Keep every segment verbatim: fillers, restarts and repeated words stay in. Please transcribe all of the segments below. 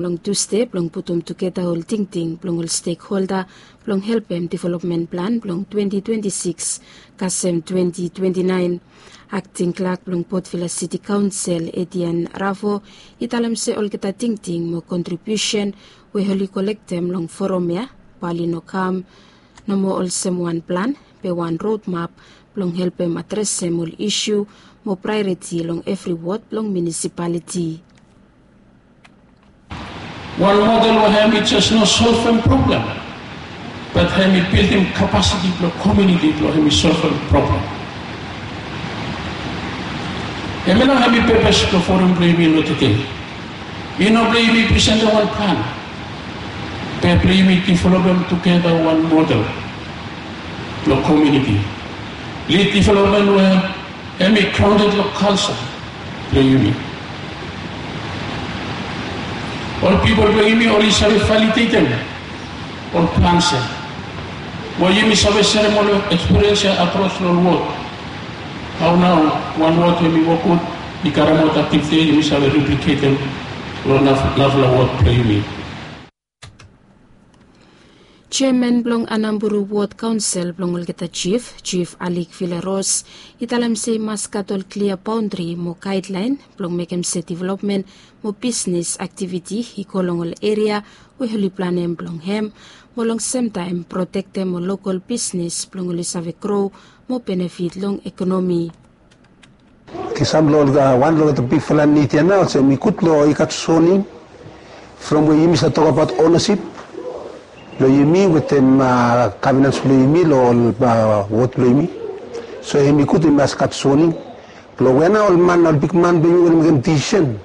long Tusde blong putum tugeta ol tingting blong ol stekholda blong helpem developmen plan blong twenti twenti sikis kasem twenti twenti naen. Akting klak blong Port Vila Siti Kaonsel, Etienne Ravo, i talem se olgeta tingting mo kontribiusen we oli kolektem long foram ya bae oli no kam nomo olsem wan plan, be wan rodmap blong helpem adresem ol isu mo praeoriti long evri wod blong munisipaliti. Wan model we hemi jes no solvem problem, bat hemi bildim kapasiti blong komuniti blong hemi solvem problem. Hemia nao hemi pepes blong foram blong yumi long tede. I no blong yumi presentem wan plan, be blong yumi developem tugeta wan model blong komuniti. Lid developmen we hemi graonded long kalja blong yumi. Ol pipol blong yumi oli save validetem ol plans ya, we yumi save serem ol ekspiriens ya akros long ol wod. Hao nao wan wod we hemi wok gud i karemaot aktiviti ya yumi save repliketem long naf- narafala wod blong yumi. Jeaman blong Anamburu Wod Kaonsel blong olgeta jif, Jif Alik Villaros, i talem se i mas gat ol klia baondri mo gaedlaen blong mekem se developmen mo bisnis aktiviti i go long ol eria we oli planem blong hem, mo long semtaem protektem ol lokol bisnis blong oli save gro mo benefit long ekonomi. Kisam long olgeta wan long olgeta bigfala nid ya nao olsem i gud long i gat soning from we yumi save tokabaot onesip blong yumi wetem kavenans blong yumi long ol wod blong yumi. So hemi gud i mas gat soning blong we nao ol man, ol bigman blong yumi oli mekem disisen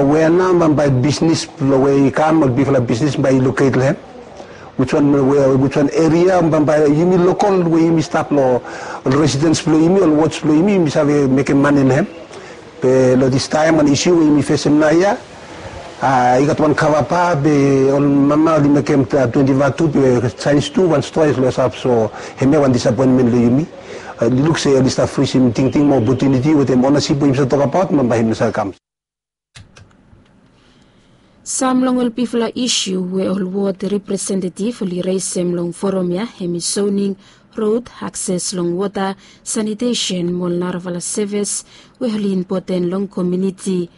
we nao bambae bisnis blong we i kam, ol bigfala bisnis bae i loket long hem. Wiswan we, wiswan eria bambae yumi lokol we yumi stap long ol residens blong yumi, ol wods blong yumi, yumi save mekem mane long hem. Be long distaem wan isu we yumi fesem naoia, i gat wan kavapa be ol mama oli mekem twenti vatu be jaens tu wan stoa i klosap, so hemia wan disapoenmen long yumi. I luk se oli stap frisim tingting mo opotuniti wetem onesip we yumi save tokabaot bambae hemi no save kam. Sam long ol bigfala isu we ol wod representetif oli resem long foram ya hemi soning, rod, akses long wota, sanitesen mo ol narafala sevis we oli impoten long komuniti.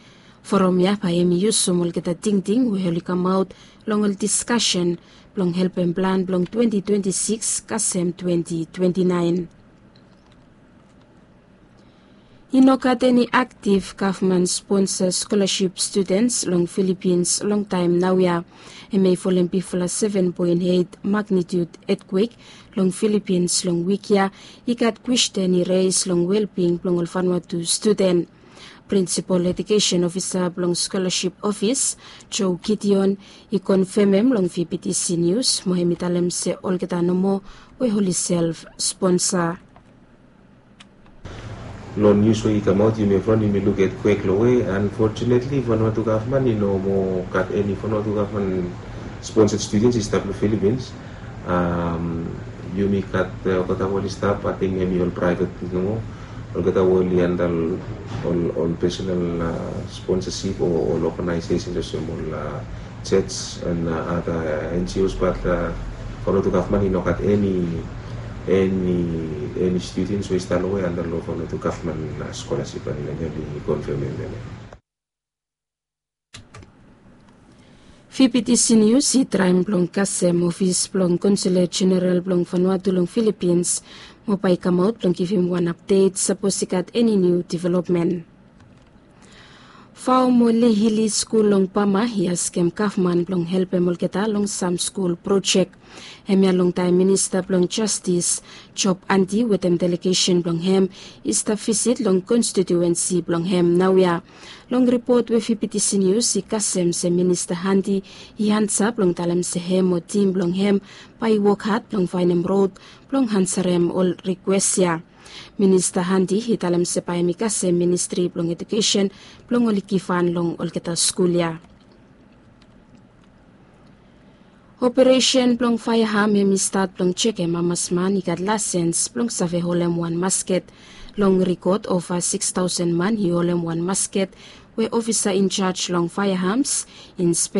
Foram ya bae hemi yusum olgeta tingting we oli kamaot long ol diskasen blong helpem plan blong twenti twenti sikis kasem twenti twenti naen. I no gat eni aktif gavman sponsa skolasip studens long Filipins long taem naoia. Hemia i folem bigfala seven point eight magnitude etkwek long Filipins long wik ya i gat kwesten i res long welbing blong ol Vanuatu studen. Prinsipol Ejukesen Ofisa blong Skolasip Ofis, Joe Gideon, i konfemem long VBTC Nius mo hemi talem se olgeta nomo we oli self sponsa. Long nius we i kamaot yumi evriwan yumi luk etkwek long we, unfortunately Vanuatu gavman i no moa gat eni Vanuatu gavman sponsed studens i stap long Filipins. Yumi gat olgeta we oli stap ating hemi ol praevet nomo, olgeta we oli anda ol personal sponsasip o ol oganaesesens olsem ol church and other NGOs, bat Vanuatu gavman i no gat eni, eni, eni studens we i stap long we anda long Vanuatu gavman skolasip. Hemia i konfemem hemia. VBTC Nius i traem blong kasem ofis blong Konsula Jeneral blong Vanuatu long Filipins mo bae i kamaot blong givim wan apdet sapos i gat eni niu developmen. Vao mo Lehili skul long Bama i askem gavman blong helpem olgeta long sam skul projek. Hemia longtaem minista blong jastis Job Anti wetem delegesen blong hem i stap visit long konstitiuensi blong hem naoia. Long ripot we VBTC Nius i kasem se Minista Anti i ansa blong talem se hem o tim blong hem bae i wok had blong faenem rod blong ansarem ol rikwes ya. Minista Anti i talem se bae hem i kasem Ministri blong Ejukesen blong oli givhan long olgeta skul ya. Operesen blong faeam hem i stat blong jekem hamas man i gat laesens blong save holem wan masket. Long rikod ova sikis taosen man i holem wan masket we ofisa in jaj long faeahams, Inspek